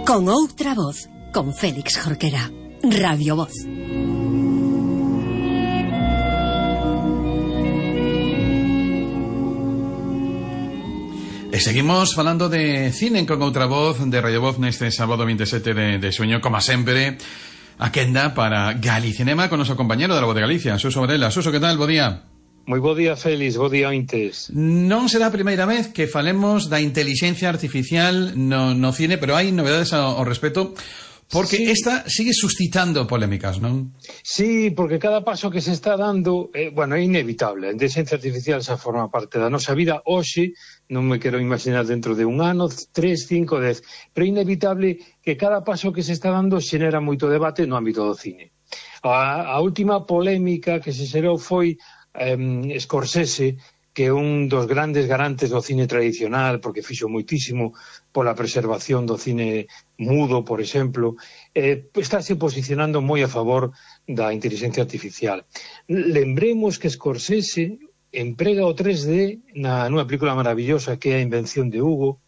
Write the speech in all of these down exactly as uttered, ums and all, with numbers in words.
Con outra voz, con Félix Jorquera. Radio Voz. E seguimos falando de cine con outra voz de Radio Voz neste sábado veintisiete de, de xuño, como sempre, a quenda para Galicinema con noso compañero da Voz de Galicia, Suso Varela. Suso, que tal? Bo día. Moi bo día, Félix, bo día ointes. Non será a primeira vez que falemos da inteligencia artificial no, no cine, pero hai novedades ao, ao respecto, porque sí. Esta sigue suscitando polémicas, non? Sí, porque cada paso que se está dando, eh, bueno, é inevitable. A inteligencia artificial xa forma parte da nosa vida. Hoxe, non me quero imaginar dentro de un ano, tres, cinco, dez, pero é inevitable que cada paso que se está dando xenera moito debate no ámbito do cine. A, a última polémica que se xerou foi Um, Scorsese, que é un dos grandes garantes do cine tradicional, porque fixo moitísimo pola preservación do cine mudo, por exemplo, eh, estáse posicionando moi a favor da inteligencia artificial. Lembremos que Scorsese emprega o tres D na, nunha película maravillosa que é A invención de Hugo,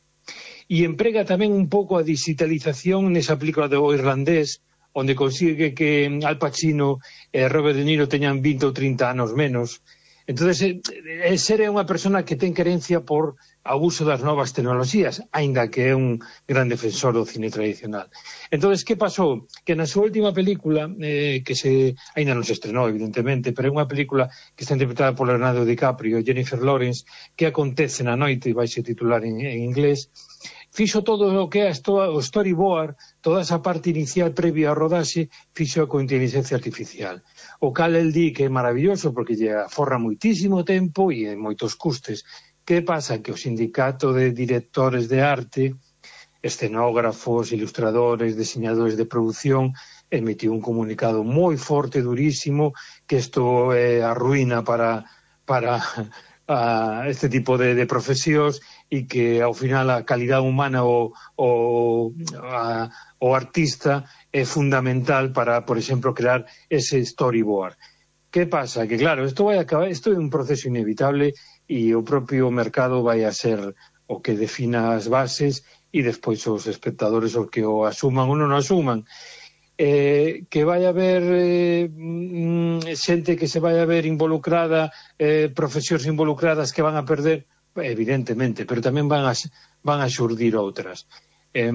e emprega tamén un pouco a digitalización nesa película do irlandés, onde consigue que Al Pacino e Robert De Niro teñan vinte ou trinta anos menos. Entón, eh, ser é unha persona que ten querencia por o uso das novas tecnoloxías, aínda que é un gran defensor do cine tradicional. Entón, que pasou? Que na súa última película, eh, que se aínda non se estrenou, evidentemente, pero é unha película que está interpretada por Leonardo DiCaprio e Jennifer Lawrence, que acontece na noite, e vai se titular en, en inglés, fixo todo o que é o storyboard, toda esa parte inicial previa ao rodaxe, fixo con inteligencia artificial. O cal el di que é maravilloso porque lle aforra moitísimo tempo e moitos custes. Que pasa? Que o sindicato de directores de arte, escenógrafos, ilustradores, diseñadores de produción, emitiu un comunicado moi forte, durísimo, que isto é a ruína para... para a este tipo de, de profesións e que ao final a calidade humana o, o, a, o artista é fundamental para, por exemplo, crear ese storyboard. Que pasa? Que claro, isto vai acabar, isto é un proceso inevitable e o propio mercado vai a ser o que defina as bases e despois os espectadores os que o asuman ou non o asuman. Eh, que vai haber eh, xente que se vai a ver involucrada, eh, profesións involucradas que van a perder, evidentemente, pero tamén van a, van a xurdir outras. Eh,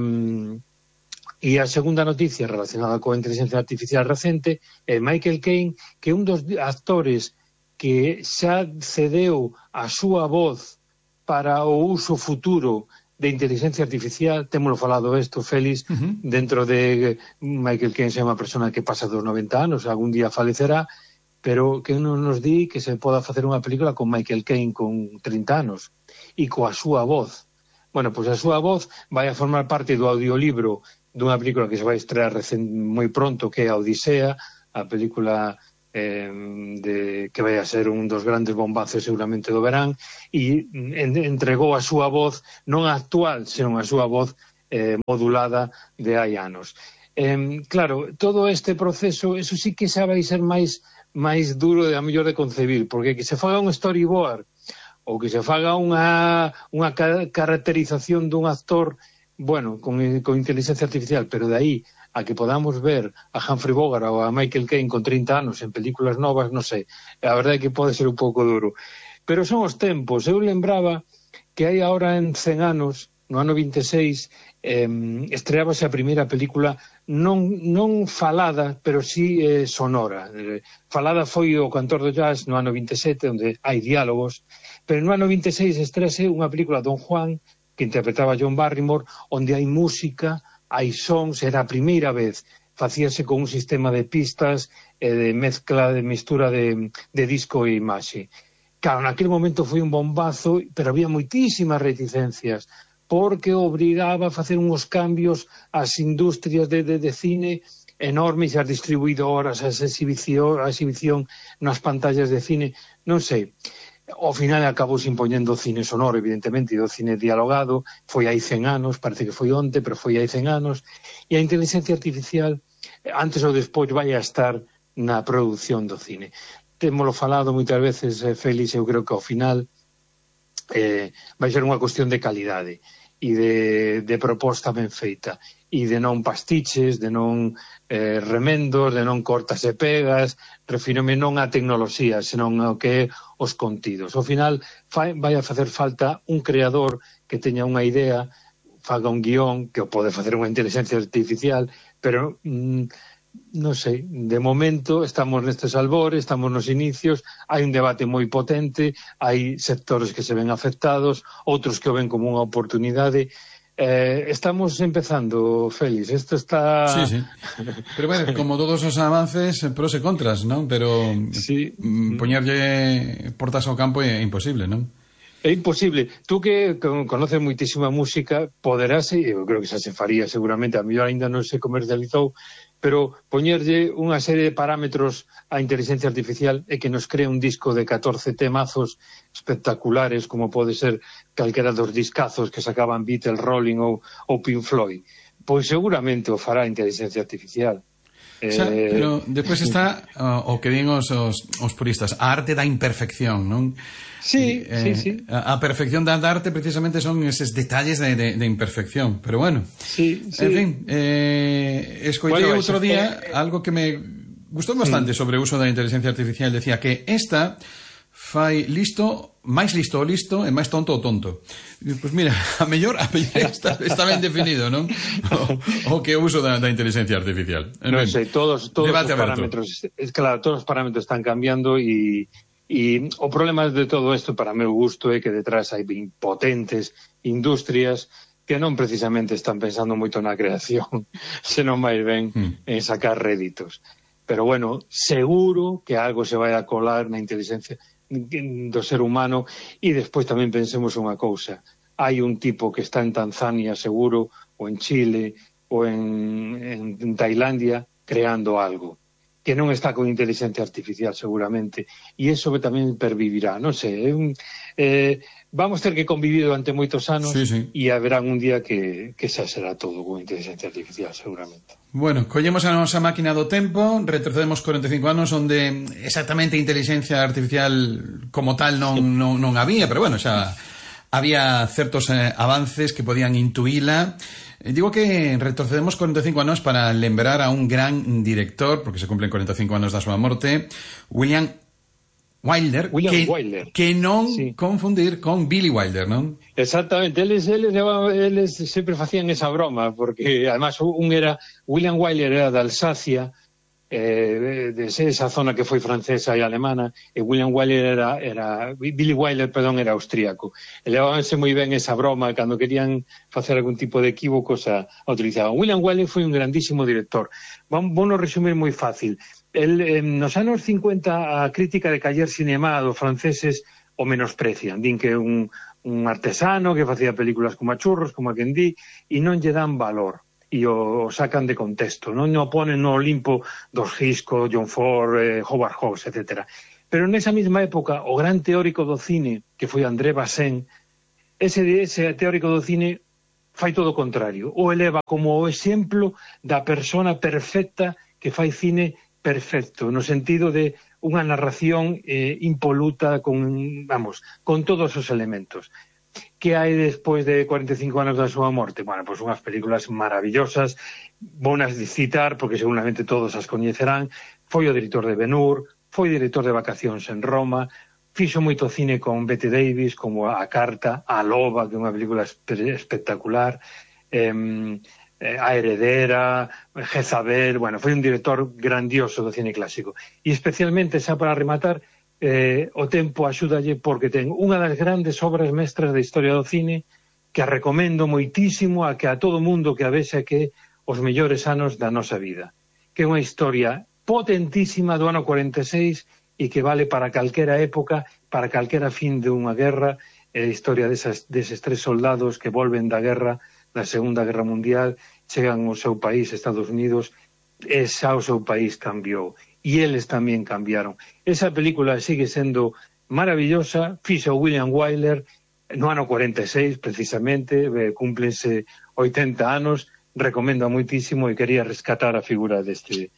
e a segunda noticia relacionada coa inteligencia artificial recente é Michael Caine, que é un dos actores que xa cedeu a súa voz para o uso futuro de inteligencia artificial. Témolo falado isto, Félix, uh-huh. Dentro de Michael Caine é unha persona que pasa dos noventa anos, algún día falecerá, pero que non nos di que se poda facer unha película con Michael Caine con trinta anos e coa súa voz. Bueno, pois a súa voz vai a formar parte do audiolibro dunha película que se vai estrear recén, moi pronto, que é a Odisea, a película Eh, de, que vai a ser un dos grandes bombazos seguramente do verán, e en, entregou a súa voz non a actual, senón a súa voz eh, modulada de hai anos. Eh, claro, todo este proceso, eso sí que xa vai ser máis máis duro de a mellor de concebir, porque que se faga un storyboard ou que se faga unha, unha caracterización dun actor, bueno, con, con inteligencia artificial, pero de aí a que podamos ver a Humphrey Bogart ou a Michael Caine con trinta anos en películas novas, non sei, a verdade é que pode ser un pouco duro. Pero son os tempos. Eu lembraba que hai agora en cen anos, no ano vinte e seis, eh, estreábase a primeira película non, non falada, pero sí eh, sonora. Eh, falada foi o Cantor do Jazz no ano vinte e sete, onde hai diálogos, pero no ano vinte e seis estrease unha película Don Juan, que interpretaba John Barrymore, onde hai música, hai sons, era a primeira vez, facíase con un sistema de pistas e de mezcla, de mistura de, de disco e imaxe. Claro, naquele momento foi un bombazo, pero había moitísimas reticencias, porque obrigaba a facer uns cambios ás industrias de, de, de cine enormes, as distribuidoras, as exhibición, a exhibición nas pantallas de cine, non sei. Ao final acabou se impoñendo o cine sonoro, evidentemente, e o cine dialogado. Foi hai cen anos, parece que foi onte, pero foi hai cen anos. E a inteligencia artificial, antes ou despois, vai a estar na produción do cine. Témolo falado moitas veces, eh, Félix, eu creo que ao final eh, vai ser unha cuestión de calidade. e de, de proposta ben feita, e de non pastiches, de non eh, remendos, de non cortas e pegas, refírome non a tecnoloxía, senón ao que é os contidos. Ao final fai, vai a facer falta un creador que teña unha idea, faga un guión, que o pode facer unha inteligencia artificial, pero mm, non sei, de momento estamos nestes albores, estamos nos inicios, hai un debate moi potente, hai sectores que se ven afectados, outros que o ven como unha oportunidade. Eh, estamos empezando, Félix, isto está... Sí, sí. Pero bueno, como todos os avances, pros e contras, non? Pero sí. poñerlle portas ao campo é imposible, non? É imposible. Tú que conoces moitísima música, poderás, eu creo que xa se faría seguramente, a mellor ainda non se comercializou, pero poñerlle unha serie de parámetros á inteligencia artificial e que nos crea un disco de catorce temazos espectaculares, como pode ser calquera dos discazos que sacaban Beatles, Rolling ou, ou Pink Floyd. Pois seguramente o fará a inteligencia artificial. Xa, pero despois está uh, o que din os, os, os puristas, a arte da imperfección, non? Sí, eh, sí, sí. A, a perfección da arte precisamente son eses detalles de, de, de imperfección, pero bueno. Sí, sí. En fin, eh, escoitei bueno, outro día eh, algo que me gustou bastante sí. sobre o uso da inteligencia artificial, decía que esta fai listo, máis listo o listo e máis tonto o tonto. Pois pues mira, a mellor, a mellor está, está ben definido, non? O, o que uso da, da inteligencia artificial. Non sei, todos, todos os parámetros, es claro, todos os parámetros están cambiando e, e o problema de todo isto, para meu gusto, é que detrás hai potentes industrias que non precisamente están pensando moito na creación, senón máis ben mm. en sacar réditos. Pero bueno, seguro que algo se vai a colar na inteligencia do ser humano, e despois tamén pensemos unha cousa, hai un tipo que está en Tanzania seguro, ou en Chile ou en, en Tailandia creando algo que non está con inteligencia artificial seguramente, e iso tamén pervivirá, non sei, eh, vamos ter que convivir durante moitos anos sí, sí. e haberá un día que, que xa será todo con inteligencia artificial seguramente. Bueno, collemos a nosa máquina do tempo, retrocedemos corenta e cinco anos onde exactamente inteligencia artificial como tal non, non, non había, pero bueno, xa había certos eh, avances que podían intuíla. Eh, digo que retrocedemos corenta e cinco anos para lembrar a un gran director, porque se cumplen corenta e cinco anos da súa morte, William Wilder, William que, Wilder. que non sí. confundir con Billy Wilder, non? Exactamente, eles, eles, eles sempre facían esa broma, porque además un era, William Wilder era de Alsacia, eh, de esa zona que foi francesa e alemana, e William Wilder era, era Billy Wilder, perdón, era austríaco. E levábanse moi ben esa broma, cando querían facer algún tipo de equívocos a, a utilizaban. William Wilder foi un grandísimo director. Vamos, vamos resumir moi fácil. El, eh, nos anos cincuenta a crítica de Cahiers Cinema dos franceses o menosprecian, din que un, un artesano que facía películas como a churros, como a quen di, e non lle dan valor e o, o sacan de contexto, non o ponen no Olimpo dos Hitchcock, John Ford, eh, Howard Hawks, etcétera. Pero nesa mesma época o gran teórico do cine que foi André Bazin, ese, ese teórico do cine fai todo o contrario, o eleva como o exemplo da persona perfecta que fai cine perfecto, no sentido de unha narración eh, impoluta con, vamos, con todos os elementos. Que hai despois de cuarenta e cinco anos da súa morte? Bueno, pois unhas películas maravillosas, bonas de citar, porque seguramente todos as coñecerán. Foi o director de Ben-Hur, foi director de Vacacións en Roma, fixo moito cine con Bette Davis, como A Carta, A Loba, que é unha película espectacular, eh, A Heredera, Jezabel, bueno, foi un director grandioso do cine clásico. E especialmente, xa para rematar, eh, o tempo axúdalle porque ten unha das grandes obras mestras da historia do cine que a recomendo moitísimo a que a todo mundo que a vexe que os mellores anos da nosa vida. Que é unha historia potentísima do ano cuarenta e seis e que vale para calquera época, para calquera fin de unha guerra, é a historia desas, deses tres soldados que volven da guerra, da Segunda Guerra Mundial, chegan ao seu país, Estados Unidos, e xa o seu país cambiou. E eles tamén cambiaron. Esa película sigue sendo maravillosa, fixo William Wilder no ano cuarenta e seis, precisamente, cúmplense oitenta anos, recomendo moitísimo e quería rescatar a figura deste